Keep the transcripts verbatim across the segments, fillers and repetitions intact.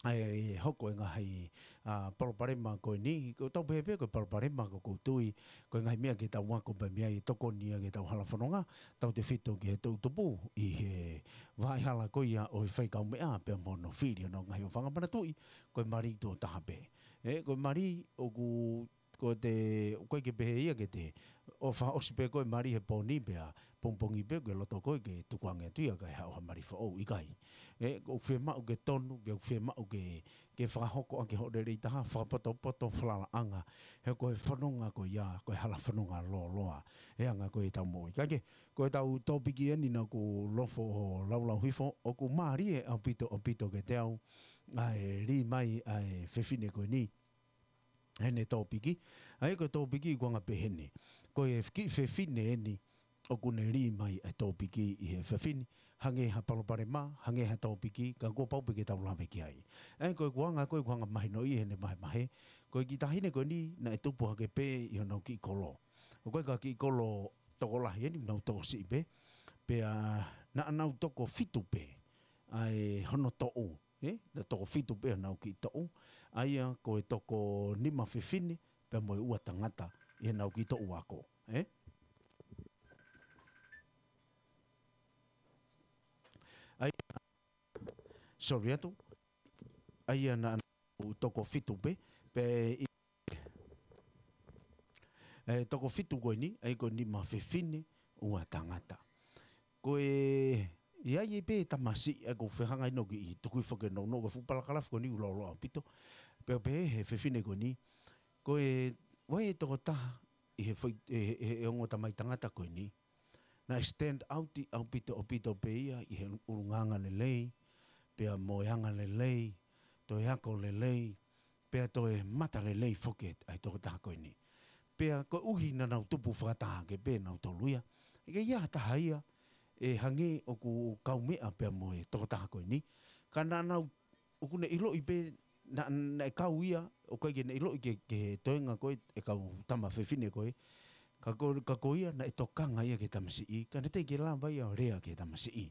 ʻa e hoko e ngaahi, ʻa, palopalema ko eni, ko tau pehē pē ko e palopalema ko ʻoku ou tui, ko e ngaahi meʻa ke tau ako pē mei ai ʻe tokoni ia ke tau hala fononga, tautefito ki he toʻutupu, ʻi he vaʻa hala ko ia ʻo e faikaumeʻa pea mo hono fili hono ngaahi ʻofaʻanga manatuʻi, ko e mali tuʻo taha pē. ʻE, ko e mali ʻoku ko te, ʻoku ʻikai ke pehē ia ke te ʻofa ʻosi pē ko e mali he pō ni pea pongipongi pē ko e loto ko ē ke tukuange atu ia kae haʻu ha mali foʻou, ʻikai. ʻE, ʻoku fiemaʻu ke tonu, pea ʻoku fiemaʻu ke, ke fakahoko ʻaki hoʻo lelei taha, fakapotopoto, falalaʻanga, he ko e fononga ko ia, ko e hala fononga lōloa, he anga ko ē ʻetau moʻui. Kae kehe, ko ʻetau tōpiki eni naʻa ku nofo ʻo laulau hifo, ʻoku mālie ʻaupito, ʻaupito kiate au, ʻa e lī mai, ʻa e fefine ko eni, heʻene tōpiki. ʻA ia ko e tōpiki ʻoku anga pehē ni. Ko e kiʻi fefine eni ʻoku ne lī mai ʻa e tōpiki ʻi he efiafi ni. Hangē ha palopalema, hangē ha tōpiki, ka kuo pau pē ke tau lave ki ai. ʻA ia ko e ʻoku anga, ko e ʻoku anga mahino ʻi heʻene vahevahe. Ko e kiʻi taʻahine ko eni naʻe tupu hake pē ʻi honau kiʻi kolo. ʻOku ʻikai ko ha kiʻi kolo tokolahi eni, nau tokosiʻi pē. Pea naʻa nau toko fitu pē ʻa e hono toʻu. ʻE, naʻe toko fitu pē honau kiʻi toʻu, ʻa ia ko e toko nima fefine, pea mo e ua tangata, ʻi heʻenau kiʻi toʻu ako, ʻe? ʻA ia, sorry atu, ʻa ia naʻa nau toko fitu pē, pea ʻi ʻe toko fitu ko eni, ʻa ia ko e nima fefine, ua tangata. Ko e, ʻi ai pē tamasiʻi, ʻa ia ʻoku ou fehālaaki ʻo kiʻi tuku hifo ke nounou, ko e fuʻu palakalafi ko eni ʻoku lōloa ʻaupito. Pea pehē he fefine ko eni, ko e, ʻoku ʻi ai e tokotaha, ʻi he foʻi, ʻe, ʻe, ʻe ongo tamai tangata ko eni. Naʻe stand out ʻaupito, ʻaupito pē ia, ʻi he ʻulungaanga lelei, pea mo e anga lelei, toe ako lelei, pea toe mata lelei foki ʻa e tokotaha ko eni. Pea koeʻuhi naʻa nau tupu fakataha hake pē nautolu ia. ʻIkai ha taha ia, ʻe hangē ʻoku kaumeʻa pea mo e tokotaha ko eni. Ka naʻa nau, ʻoku ne ʻiloʻi pē, naʻa, naʻe kau ia, ʻoku ʻikai ke ne ʻiloʻi ke, ke toenga ko ē ʻe kau tama fefine ko ē. Ka ko, ka ko ia naʻe tokanga ia ki he tamasiʻi, ka naʻe teʻeki ke lava ia ʻo lea ki he tamasiʻi.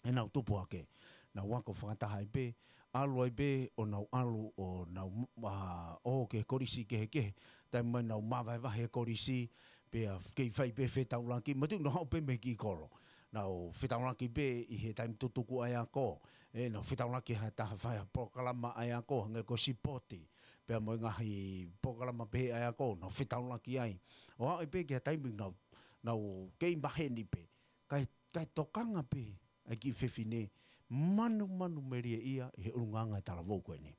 ʻE nau tupu hake. Nau ako fakataha ai pē, ʻalu ai pē, ʻo nau ʻalu, ʻo nau, ʻa, ō ki he kolisi kehekehe. Taimi mai nau māvahevahe he kolisi, pea kei fai pē fetaulaki, matuʻu nau haʻu pē mei he kiʻi kolo. Nau fetaulaki pē ʻi he taimi tutuku ʻa e ako. ʻE, nau fetaulaki ha taha fai ha polokalama ʻa e ako, hangē ko e sipoti. Pea mo e ngaahi polokalama pehē ʻa e ako, nau fetaulaki ai. ʻO aʻu ai pē ki ha taimi nau, nau kei maheni pē. Kae, kae tokanga pē ʻa e kiʻi fefine, manumanu melie ia ʻi he ʻulungaanga ʻa e talavou ko eni.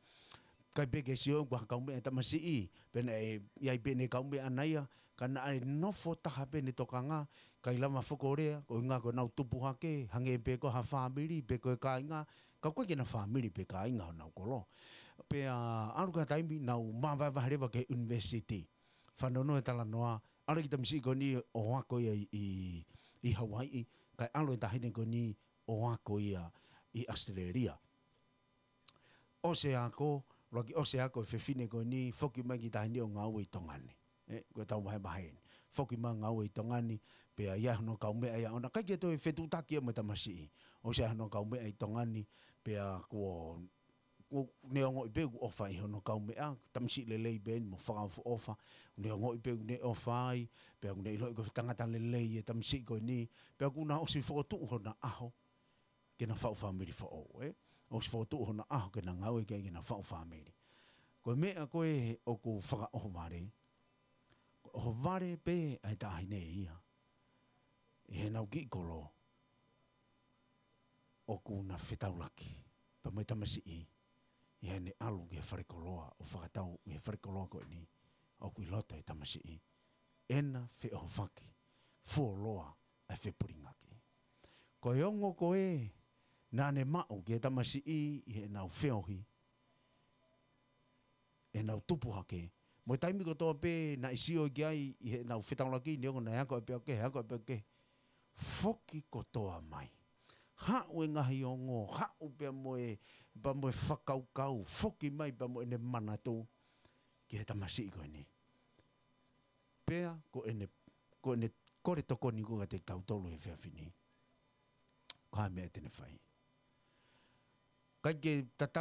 ʻIkai pē ke sio ʻoku ʻi ai ha kaumeʻa ʻa e tamasiʻi, pe naʻe ʻi ai pē ʻene kaumeʻa ʻana ia, ka naʻe nofo taha pē ʻene tokanga, ʻikai lava foki ʻo lea, koeʻuhinga ko ʻenau tupu hake, hangē pē ko ha fāmili, pe ko e kāinga, ka ʻoku ʻikai ke na fāmili pe kāinga honau kolo. Pea ʻalu ki ha taimi, nau māvahevahe leva ki he university. Fanongo e talanoa, ʻalu e kiʻi tamasiʻi ko eni ʻo ako ia ʻi, ʻi, ʻi Hawaiʻi, kae ʻalu e taʻahine ko eni ʻo ako ia ʻi ʻAositelēlia. ʻOsi e ako, ʻuluaki ʻosi e ako e fefine ko eni, foki mai e kiʻi taʻahine ʻo ngāue ʻi Tonga ni. ʻE, ko ʻetau vahevahe eni. Foki mai ngāue ʻi Tonga ni, pea ʻi ai hono kaumeʻa ia ʻoʻona, ʻikai ke toe fetuʻutaki ia mo e tamasiʻi. ʻOsi e ai hono kaumeʻa ʻi Tonga ni, pea kuo ʻoku ne ongoʻi pē ʻoku ʻofa ʻi hono kaumeʻa, tamasiʻi lelei pē eni mo fakaʻofoʻofa, ʻoku ne ongoʻi pē ʻoku ne ʻofa ai, pea ʻoku ne ʻiloʻi ko e tangata lelei e tamasiʻi ko eni, pea kuo na ʻosi fokotuʻu hona ʻaho, ke na faʻu fāmili foʻou, ʻe? ʻOsi fokotuʻu hona ʻaho ke na ngāue ki ai ke na faʻu fāmili. Ko e meʻa ko ē ʻoku fakaʻohovale, ʻohovale pē ʻa e taʻahine ia, ʻi heʻenau kiʻi kolo, ʻoku na fetaulaki, pea mo e tamasiʻi, ʻi heʻene ʻalu ki he falekoloa, ʻo fakatau ʻi he falekoloa ko eni, ʻoku ʻi loto e tamasiʻi, ʻena feʻohofaki, fuoloa ʻa e fepulingaki. Ko e ongo ko ē, naʻa ne maʻu ki he tamasiʻi, ʻi heʻenau feohi, ʻenau tupu hake. Mo e taimi kotoa pē naʻe sio ki ai ʻi heʻenau fetaulaki, neongo naʻe ako ʻa e peau kehe, ako ʻa e peau kehe. Foki kotoa mai. Haʻu e ngaahi ongo, haʻu pea mo e, pea mo e fakakaukau, foki mai pea mo ʻene manatu ki he tamasiʻi ko eni. Pea ko ʻene, ko ʻene kole tokoni ko ē kiate kitautolu he efiafi ni. Ko e hā e meʻa te ne fai. ʻIkai ke tatau